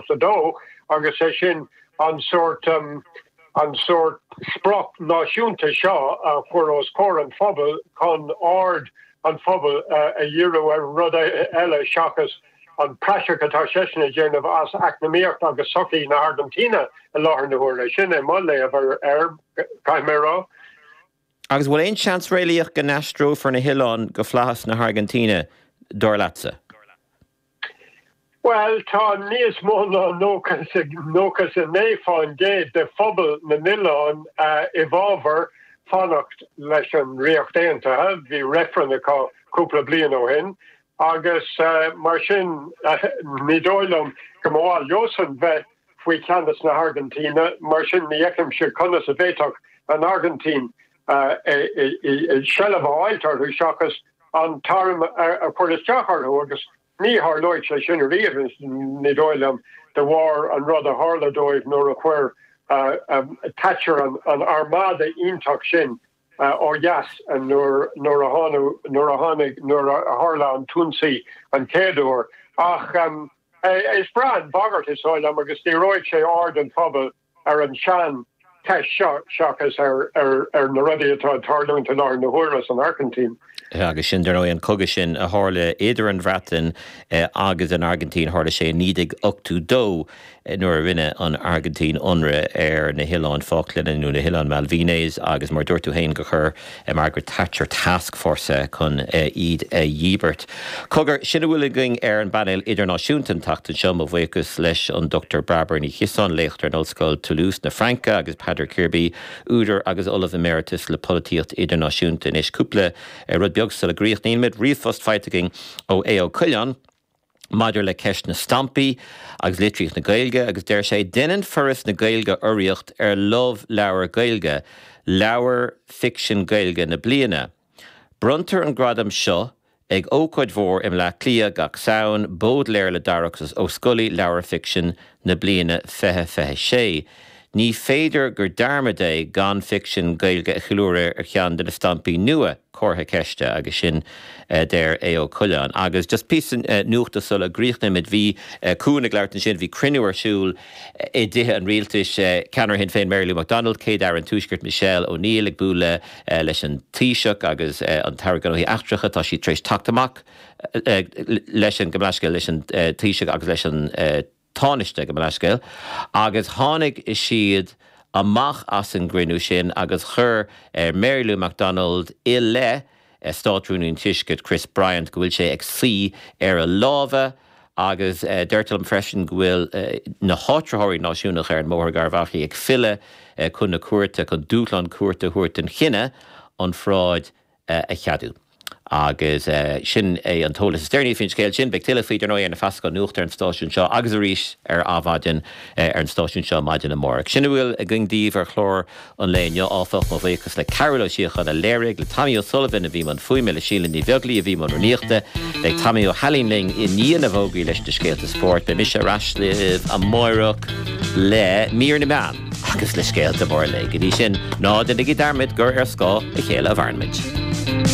1982 agus é sin an sórt an sórt sprioc náisiúnta seo a chur os comhair an phobail chun aird an phobail a dhíriú ar rud eile seachas an praiseach atá seisean a dhéanamh as eacnamaíocht agus sochaí na hAirgintíne i láthair na huaire. Sin é mo léamh air, caithfidh mé a rá. Agus bhfuil aon seans réalaíoch go n-aistreofar na hoileáin go flaitheas na hAirgintíne, dar leatsa? Bhuel, tá níos mó ná 99% de phobal na n-oileán i bhfabhar fanacht leis an Ríocht Aontaithe. Bhí reifreann acu cúpla bliain ó shin agus mar sin ní dóigh liom go mba mhaith leosan bheith faoi cheannas na hAirgintíne. Mar sin ní fheicimse conas a bhféadfadh an Airgintín seilbh a fháilt orthu seachas an t-arm a chur isteach orthu agus ní tharlóidh sé sin ariamh, ní dóigh liom, de bharr an rud a tharla dóibh nuair a chuir Thatcher an armada iontach sin ó dheas nuair a tháinig, nuair a tharla an t-ionsaí an chéad uair. Ach is breá an bhagairt, is dóigh liom, agus díreoidh sé aird an phobail ar an tsean cheist seo seachas ar na rudaí atá ag tarlúint i láthair na huaire san Airgintín. Agus sin, dar ndóigh, an cogadh sin a tharla idir an Bhreatain agus an Airgintín, tharla sé i 1982 nuair a rinne an Airgintín ionradh ar na hOileáin Falkland nó na hOileáin Malvinas agus mar a dúirt tú féin gur chuir Margaret Thatcher tascfhórsa chun iad a dhíbirt. Cogar, sin a bhfuil againn ar an bpainéal idirnáisiúnta an tseachtain seo. Mo bhuíochas leis an Dr Bairbre Ní Chiosáin, léachtóir in Ollscoil Toulouse na Fraince agus Peadar Kirby, údar agus Ollamh Emeritus le Polaitíocht Idirnáisiúnta. Anois cúpla rud beag sula gcríochnaímid. Ríomhphost faighte againn ó Aodh Ó Coileáin. maidir le ceist na stampaí agus litríocht na Gaeilge agus deir sé, 'Deineann Foras na Gaeilge urraíocht ar Love Leabhar Gaeilge, leabhar ficsin Gaeilge na bliana. Bronntar an gradam seo ag ócáid mhór i mBleá Cliath gach Samhain, Bódléar le Darach Ó Scolaí, Leabhar Ficsin na Bliana 2026. Ní féidir gur dearmad é gan ficsean Gaeilge a cheiliúradh ar cheann de na stampaí nua, comhartha ceiste, agus sin a deir Aodh Ó Coileáin. Agus just píosa nuachta sula gcríochnaímid, bhí Cuan ag labhairt ansin, bhí cruinniú ar siúl i dTithe an Rialtais, ceannaire Shinn Féin Mary Lou McDonald, Céad-Aire an Tuaiscirt Michelle O'Neill ag bualadh leis an Taoiseach agus an tAire Gnóthaí Eachtracha, tá siad tar éis teacht amach leis an, gabh mo leithscéal, leis an Taoiseach agus leis an Tánaiste, gabh mo leithscéal, agus tháinig siad amach as an gcruinniú sin agus chuir Mary Lou McDonald i leith Státrúnaí an Tuaiscirt Chris Bryant go bhfuil sé ag suí ar a lámha agus deirtear liom freisin go bhfuil na háitritheoirí náisiúnacha ar an mBóthar Garbhachaill ag filleadh chun na cúirte chun dúshlán cúirte a thabhairt don chinneadh an pharáid a cheadú. Agus sin é an t-eolas is deireanaí faoin scéal sin. Beidh tuilleadh faoi, dar ndóigh, ar na feasacháin nuachta ar an stáisiún seo agus arís ar Adhmhaidin ar an stáisiún seo maidin amárach. Sin a bhfuil againn daoibh ar chlár an lae inniu, áfach. Mo bhuíochas le Cearbhall Ó Síocháin a léirigh, le Tommy O'Sullivan a bhí i mbun fuaime, le Síle Ní Bheaglaoí a bhí i mbun rúnaíochta. Beidh Tommy Ó hAilín linn i ndiaidh na bhfógraí leis na scéalta spóirt. Beidh mise ar ais libh amárach le mír na meán. Agus le scéalta móra an lae. Go dtí sin, ná déanaigí dearmad gur ar scáth a chéile a mhaireann muid.